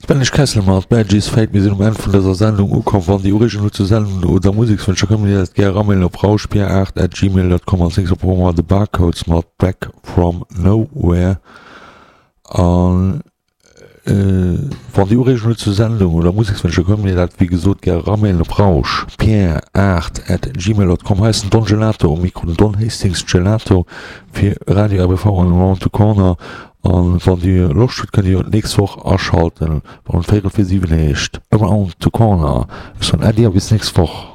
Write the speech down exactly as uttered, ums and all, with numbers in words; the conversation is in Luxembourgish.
D'Spanish Castle mat Maggie's Fate. Mir sinn um Enn vun dëser Sendung ukomm. Wann Dir Ureegungen hutt zur Sendung oder Musekswënsch, da kënnt Dir dat gär eramailen op rauschbier aacht at gmail dot com. Als nächst op Programm The Barcodes mat Back From Nowhere. An wann Dir Ureegungen hutt zur Sendung oder Musekswënsch, da kënnt Dir dat wéi gesot gär eramailen op rauschbier aacht at gmail dot com. Hei ass den Don Gelato um Mikro, den Don Hastings Gelato fir Radio R B V an Around the Corner. An wann Dir Loscht hutt, kënnt Dir d'nächst Woch aschalten, wann et véierel vir siwen heescht Around the Corner. Ech soen Äddi a bis d'nächst Woch.